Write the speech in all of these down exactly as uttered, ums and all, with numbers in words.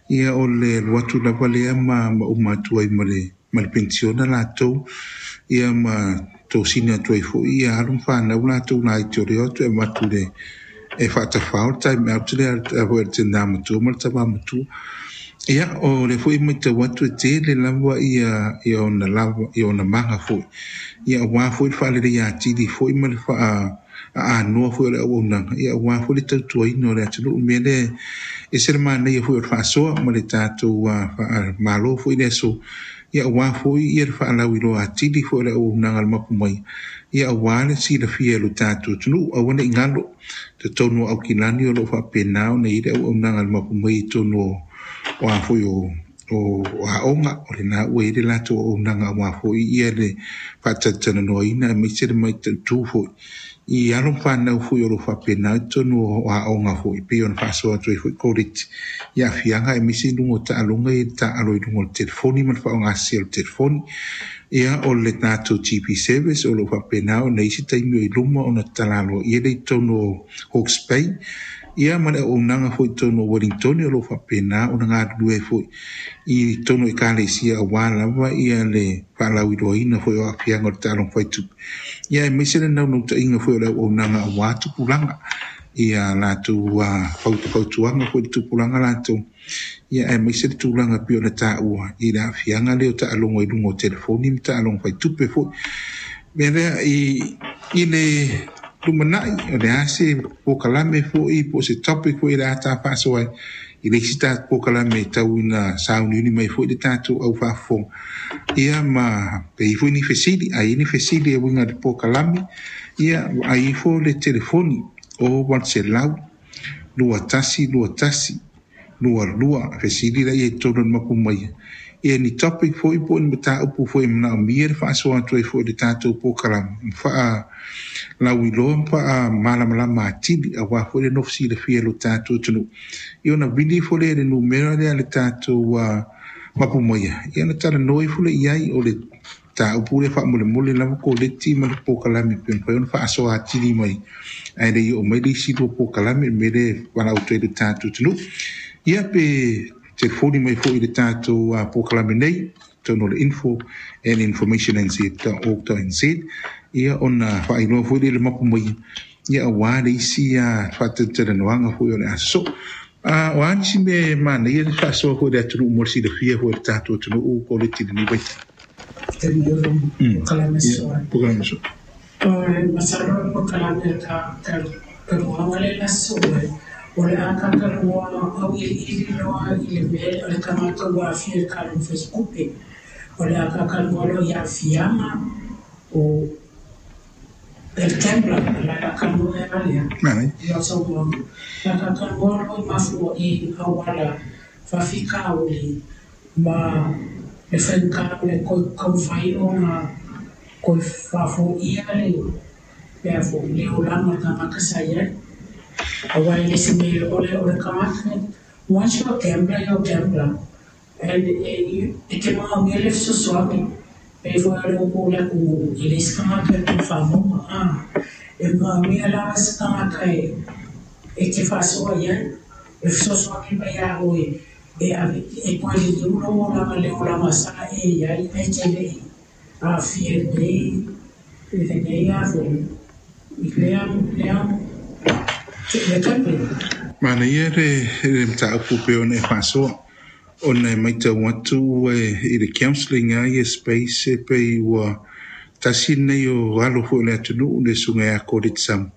Ia o le alu atu lava lea ma ma uma atu ai ma le ma le penisiona latou, ia ma tosina atu ai foi ia alo ma fanau latou laiti o le o atu e avatu le e faatafao le time out lea a foi a le tina matua ma le tama matua. Ia o le foi matau atu e tele lava ia ia ona lava ia ona maga foi. Ia aua foi le faaleleia atili foi ma le faa aanoa foi o le auaunaga, ia aua foi le tautuaina o le atunuu. Mea lea e se le manaia foi o le faasoa ma le tatou faamalo foi le aso, ia aua foi ia le faalauiloa atili foi o le auaunaga a le mapu mai, ia aua le silafia e lo tatou atunuu. Aua ne i galo totonu o Aukilani o lo o faapena ona i ai le auaunaga a le mapu mai i totonu o o a foi o o aoga o lena ua i ai le latou auaunaga aua foi ia le faatalatalanoaina aemaise le mataitu foi i alo ma fanau foi o lo o faapena i totonu o aoga foi pei ona faasoa atu ai foi Koleti i aafiaga aemaise i luga o taaloga i le taalo i luga o le telefoni ma le faaaogasese o le telefoni. Ia o le tatou G P service o lo o faapena ona i ai se taimi o i luma ona tatala aloaia lea i totonu o Hawke's Bay. Ia ma le auaunaga foi i totonu o Wellington o lo o faapena ona galulue ai foi i totonu o ekalesia aua lava ia le faalauiloaina foi o aafiaga o le taaloga faitupe. Ia aemaise le naunautaiga foi o le auaunaga aua tupulaga ia latou fautuaga foi i le tupulaga latou. Ia aemaise le tulaga pei ona taua i le aafiaga lea o taaloga i luga o telefoni ma taaloga faitupe foi. Mea lea i i le lumanai o le a se polokalame foi po o se topic foi o le a ta faasoa ai i le isi tatou polokalame e tau ina sauniuni mai foi le tatou au faafofoga. Ia ma pe i ai foi ni fesili, a i ai ni fesili e uiga i le polokalame, ia ai ifo le telefoni o valu selau, lua tasi, lua tasi, lua lua, fesili la ia i totonu o le mapu mai. Ia ni topic foi po o ni mataupu foi e manaomia le faasoa atu ai foi i le tatou polokalame, ma faalauiloa ma faamalamalama atili aua foi le nofo silafia e lo tatou atunuu. Ia ona vili ifo lea i le numera lea a le tatou uh, mapu maia, ia ona talanoa ifo lea i ai o le mataupu lea faamolemole lava Koleti ma le polokalame pe mafai ona faasoa atili mai ae le i oo mai le isi lua polokalame mea lea e valaau atu ai le tatou atunuu. Ia pe telefoni mai foi i le tatou uh, polokalame nei totonu o le info at information n z dot org dot n z, ia ona faailoa foi lea i le mapu mai, ia aua le isi uh, faatalatalanoaga foi o le aso. Uh, o a nisi mea e manaia le faasoa foi i le atunuu mo le silafia foi e le tatou atunuu Koleti i lenei vaitau? Mm. Polokalame soa. Polokalame soa. O le masalo o le polokalame ka talanoaga le aso o le a talanoa auiliili loa i le mea o le tagata ua aafia i le taaloga faitupe. O le a talanoa loa i aafiaga o le gambler, o le a talanoa ea lea. Manaia. Ia saunoaga. O le a talanoa loa i mafua i auala faafitauli ma le faigata o le taumafai ona toe faafoia le le a foi le olaga o le tagata sa i ai. Aua e le se mea o le o le tagata, once you're a gambler, you're a gambler. And e e te manaomia le fesoasoani. Pe foi o le upu o le atunuu, e le isi tagata e tau faamauga. Ah, e manaomia lava se tagata e e te faasoa i ai. E fesoasoani mai ia oe e ave e toe liliu lou olaga le olaga sa e i ai ae te lei aafia i lenei i lenei a foi i lea lea le gambling. Manaia le le mataupu pei ona e faasoa ona e matau atu e, i le counselling a ia space e pei ua tasi lenei o alo foi o le atunuu le susuga ia Koleti Samu.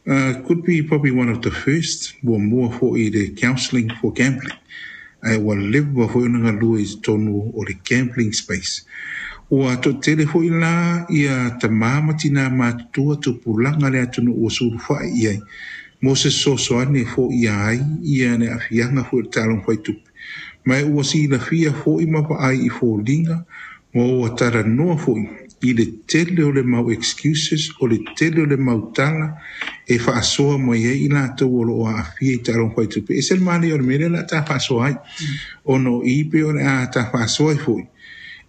Uh, could be probably one of the first muamua foi i le counselling for gambling. Ae ua leva foi ona galue i totonu o le gambling space. Ua toatele foi la ia tamā ma tinā matutua tupulaga le atunuu ua sulufai i ai mo se fesoasoani e foia ai ia le aafiaga foi o le taaloga faitupe. Ma e ua silafia foi ma vaai i foliga ma ua talanoa foi i le tele o le mau excuses o le tele o le mau tala e faasoa mai ai i latou o lo o aafia i taaloga faitupe. E ese le manaia o le mea lea o le a ta faasoa ai ona o i pei o le a ta faasoa ai foi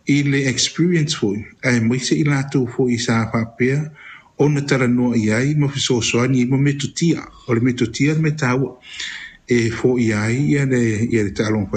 i le experience foi aemaise i latou foi sa faapea ona talanoa i ai ma fesoasoani ai ma metotia. O le metotia le mea taua e foia ai ia le ia le taaloga faitupe.